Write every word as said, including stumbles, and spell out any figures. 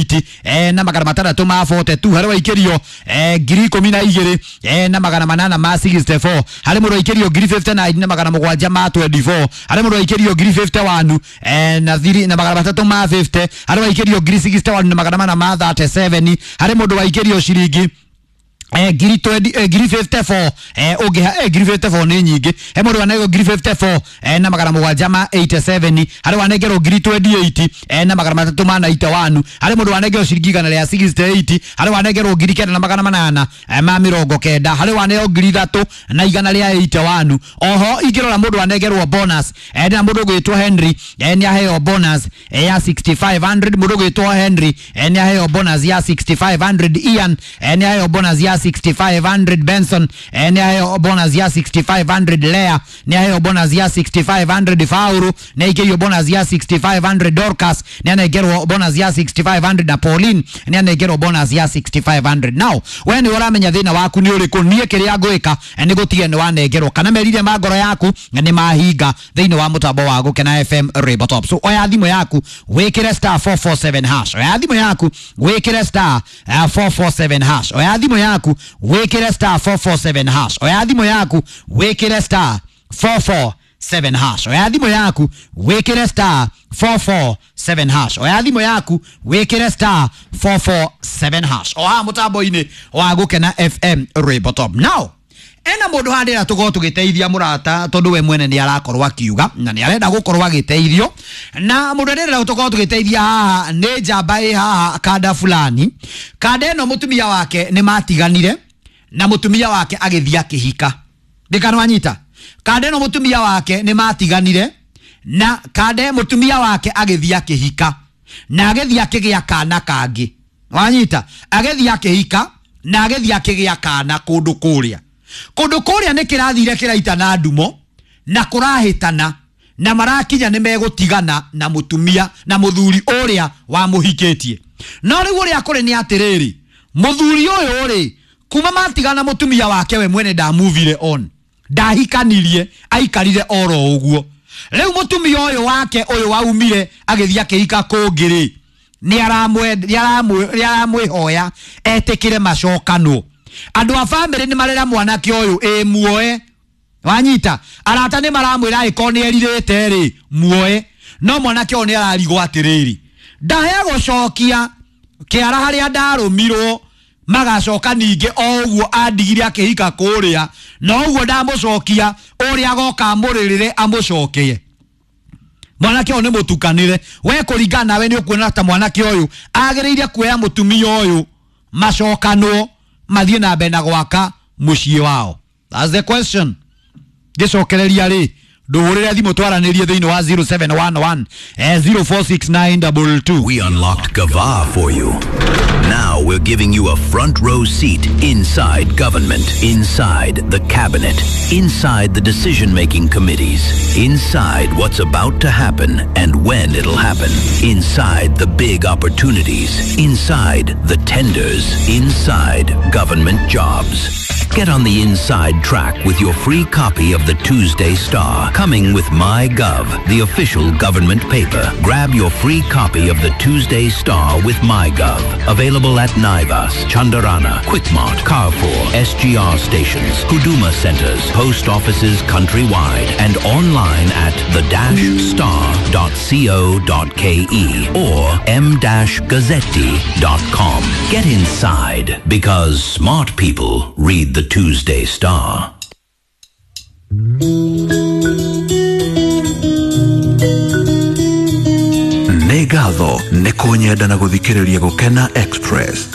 twenty-eight eh, na magana matandatũ ma forty-two, harĩ waikĩrio eh, ngiri ikũmi na igĩrĩ eh, na magana manana ma sixty-four, harĩ mũndũ waikĩrio ngiri fifty-nine na magana mũgwanja ma twenty-four, harĩ mũndũ waikĩrio ngiri fifty-one eh, na thiri na magana matatũ ma fifty, harĩ waikĩrio ngiri sixty-one na magana mana ma thirty-seven, harĩ mũndũ waikĩrio ciringi eh, ngiri twenty eh, ngiri fifty-four eh, ũngĩ eh, ngiri fifty-four nĩ nyingĩ, he mũndũ wanengerwo ngiri fifty-four eh, na magana mũgwanja ma eighty-seven, harĩ wanengerwo ngiri twenty-eight eh, na magana matatũ ma ninety-one, harĩ mũndũ wanengerwo ciringi igana rĩa sixty-eight, harĩ wanengerwo ngiri kenda na magana manana eh, ma mĩrongo kenda, harĩ waneo ngiri ithatũ na igana rĩa eighty-one. Oho ingĩrora mũndũ wanengerwo bonus eh, na mũndũ ũgwĩtwo Henry eh, nĩ aheo bonus eh, ya sixty-five hundred, mũndũ ũgwĩtwo Henry eh, nĩ aheo bonus ya sixty-five hundred, Ian eh, nĩ aheo bonus ya sixty-five hundred, Benson eh, nĩ aheo bonus ya sixty-five hundred, Lea nĩ aheo bonus ya sixty-five hundred, Fauru nĩ aikĩrio bonus ya sixty-five hundred, Dorcas nĩ anengerwo bonus ya sixty-five hundred na Pauline nĩ anengerwo bonus ya sixty-five hundred. Now we nĩ ũramenya thĩna waku nĩ ũrĩkũ, niĩ kĩrĩa ngwĩka nĩ gũtige nĩ wanengerwo kana merire ma ngoro yaku nĩ mahinga thĩinĩ wa mũtambo wa Gũkena F M Rainbow Top. So oya thimũ yaku wĩkĩre star four four seven hash, oya thimũ yaku wĩkĩre star four four seven hash, oya thimũ yaku wĩkĩre star four four seven hash, oya thimũ yaku wĩkĩre star four four seven hash, oya thimũ yaku wĩkĩre star four four seven hash, oya thimũ yaku wĩkĩre star four four seven hash. Oha mũtambo-inĩ wa Gũkena F M Rainbow Top. Now ena mũndũ handĩra tũkorwo tũgĩteithia mũrata tondũ we mwene nĩ arakorwo akiuga na nĩ arenda gũkorwo agĩteithio, na mũndũ arenda tũkorwo tũgĩteithia haha nĩ njamba ĩ haha kanda fulani. Kanda ĩno mũtumia wake nĩ matiganire na mũtumia wake agĩthiĩ akĩhika, ndikana wanyita. Kanda ĩno mũtumia wake nĩ matiganire na kanda mũtumia wake agĩthiĩ akĩhika na agĩthiĩ akĩgĩa kana kangĩ, wanyita, agĩthiĩ akĩhika na agĩthiĩ akĩgĩa kana kũndũ kũrĩa kũndũ kũrĩa nĩ kĩrathire kĩraitana ndumo na kũrahĩtana na marakinya nĩ megũtigana na mũtumia na mũthuri ũrĩa wamũhikĩtie. No rĩu ũrĩa kũrĩ nĩ atĩrĩrĩ, mũthuri ũyũ rĩ kuma matigana mũtumia wake we mwene ndamuvire on, ndahikanirie, aikarire oro ũguo. Rĩu mũtumia ũyũ wake ũyũ waumire agĩthiĩ akĩhika kũngĩ rĩ, nĩ aramwĩhoya etĩkĩre macokanwo. Andũ a bamĩrĩ nĩ marera mwanake ũyũ ĩ muoe, wanyita, arata nĩ maramwĩra ĩkorwo nĩ erirĩte rĩ muoe, no mwanake ũyũ nĩ ararigwo atĩrĩrĩ, ndahe gũcokia kĩara harĩa ndarũmirwo magacoka ningĩ o ũguo andigire akĩhika kũrĩa, no ũguo ndamũcokia ũrĩa agoka amũrĩrĩre amũcokie. Mwanake ũyũ nĩ mũtukanĩre, we kũringana nawe nĩ ũkuona ta mwanake ũyũ agĩrĩire kuoya mũtumia ũyũ macokanwo mathiĩ na mbere na gwaka mũciĩ wao. That's the question. Ngĩcokereria rĩ, ndũhũrĩre thimũ twaranĩrie thĩinĩ wa zero seven one one zero four six nine two two. We unlocked Gava for you. Now we're giving you a front row seat inside government, inside the cabinet, inside the decision-making committees, inside what's about to happen and when it'll happen, inside the big opportunities, inside the tenders, inside government jobs. Get on the inside track with your free copy of the Tuesday Star, coming with MyGov, the official government paper. Grab your free copy of the Tuesday Star with MyGov. Available at Naivas, Chandarana, Quickmart, Carrefour, S G R stations, Huduma centers, post offices countrywide, and online at the dash star dot co dot ke or m dash gazzetti dot com. Get inside, because smart people read the Tuesday Star. Nĩ ngatho nĩ kũnyenda na gũthikĩrĩria Gũkena Express.